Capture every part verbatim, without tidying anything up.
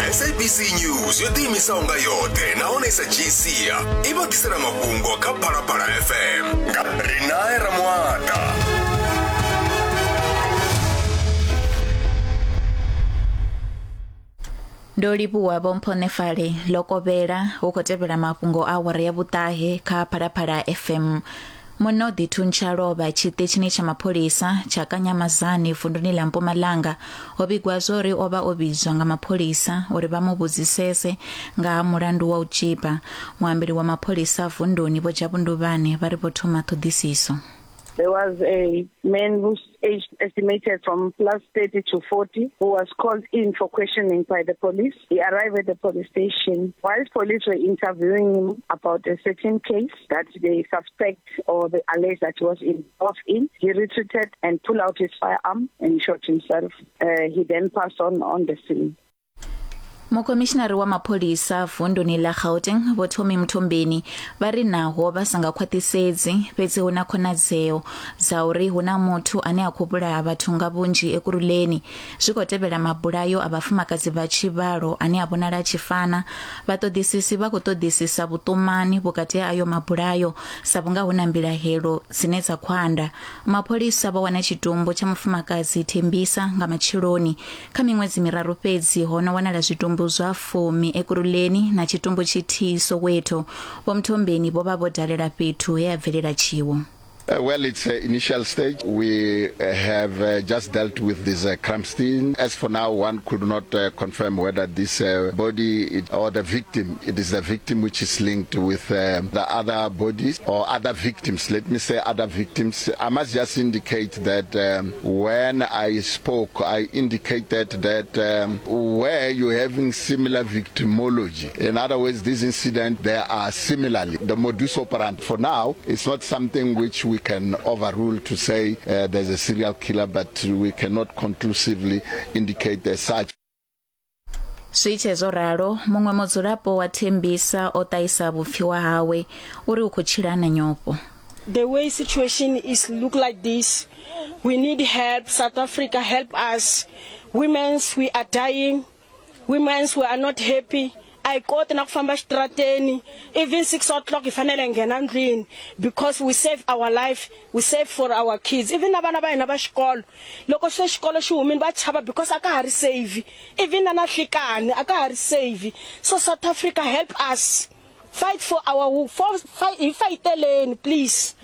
S A B C News yo ḓiimisaho nga yoṱhe nahone sa dzhii sia i vha ḓisela mafhungo kha Phalaphala F M nga Rinae Ramuata. Ndo livhuwa Vho Mphonefale. Ḽo kovhela, hu khou tevhela mafhungo a awara ya vhuṱahe kha Phalaphala F M. Munna o ḓi thuntsha lovha tshiṱitshini tsha mapholisa tsha Kanyamazane vunduni ḽa Mpumalanga. Ho vhigwa zwori o vha o vhidzwa nga mapholisa uri vha mu vhudzisese nga ha mulandu wa u tzhipa. Muambeli wa mapholisa vunduni Vho Jabu Nduvhane vha ri vho thoma ṱhoḓisiso. There was a man whose age estimated from plus thirty to forty who was called in for questioning by the police. He arrived at the police station. Whilst police were interviewing him about a certain case that they suspect or they allege that he was involved in, he retreated and pulled out his firearm and shot himself. Uh, he then passed on on the scene. Mukhomishinari wa mapholisa vunduni ḽa Gauteng Vho Tommy Mthombeni vha ri naho vha sa nga khwaṱhisedzi, fhedzi hu na khonadzeo dza uri hu na muthu ane a khou vhulaha vhathu nga vhunzhi Ekurhuleni. Zwi khou tevhela mabulayo a vhafumakadzi vha tshivhalo ane a vhonala a tshi fana. Vhaṱoḓisisi vha khou ṱoḓisisa vhuṱumani vhukati ha ayo mabulayo sa vhunga hu na mbilahelo dzine dza khou anda. Mapholisa vho wana tshitumbu tsha mufumakadzi Thembisa nga matsheloni. Kha miṅwedzi miraru fhedzi ho no wanala zwitumbu zwa fumi Ekurhuleni na tshitumbu tshithihi Soweto. Vho Mthombeni vho vha vho dalela fhethu he a bvelela tshiwo. Uh, well, it's uh, initial stage. We uh, have uh, just dealt with this uh, crime scene. As for now, one could not uh, confirm whether this uh, body it, or the victim, it is the victim which is linked with uh, the other bodies or other victims. Let me say other victims. I must just indicate that um, when I spoke, I indicated that um, where you're having similar victimology. In other words, this incident, there are similarly the modus operandi. For now, it's not something which we can overrule to say uh, there's a serial killer, but we cannot conclusively indicate as such. Zwi tshe zwo ralo, muṅwe mudzulapo wa Thembisa o ṱahisa vhupfiwa hawe uri u khou tshila na nyofho. The way situation is look like this, we need help. South Africa, help us. Women's, we are dying. Women's, we are not happy. A hi koti na ku famba xitarateni. Even six o'clock hi fanele hi nghena ndlwini because we save our life, we save for our kids, even na vana va hina va xikolo. Loko se xikolo xi humile va chava because a ka ha ri safe. Even na na nhlikani a ka ha ri safe. So South Africa, help us, fight for our for, fight, hi fayiteleni, please.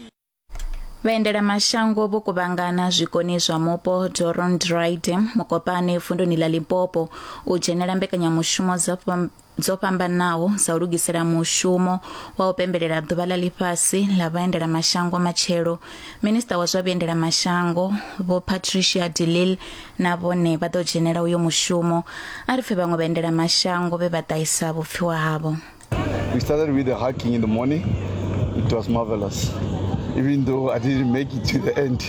Vhaendelamashango vho kuvhangana zwikoni zwa mupo Doorndraai Dam Mokopane vunduni ḽa Limpopo u dzhenela mbekanyamushumo dzo fham- dzo fhambanaho dza u lugisela mushumo wa u pembelela ḓuvha ḽa ḽifhasi ḽa vhaendelamashango matshelo. Minista wa zwa vhuendelamashango Vho Patricia de Lille na vhone vha ḓo dzhenela uyo mushumo. A ri pfe vhaṅwe vhaendelamashango vhe vha ṱahisa vhupfiwa havho. We started with the hiking in the morning. It was marvelous. Even though I didn't make it to the end,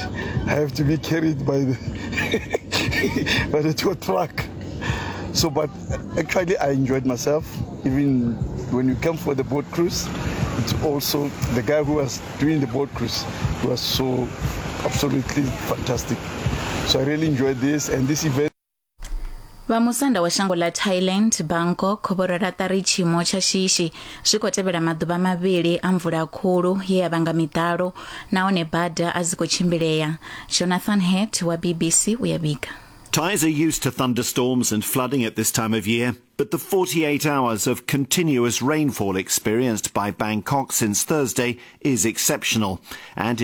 I have to be carried by the by the tow truck. So, but actually, I enjoyed myself. Even when you come for the boat cruise, it's also the guy who was doing the boat cruise was so absolutely fantastic. So I really enjoyed this and this event. Vhamusanda wa shango ḽa Thailand Bangkok vho rwela ṱari tshiimo tsha shishi zwi khou tevhela maḓuvha mavhili a mvula khulu ye ya vhanga miḓalo nahone bada a dzi khou tshimbilea. Jonathan Head wa B B C u ya vhiga. Thais are used to thunderstorms and flooding at this time of year, but the forty-eight hours of continuous rainfall experienced by Bangkok since Thursday is exceptional. And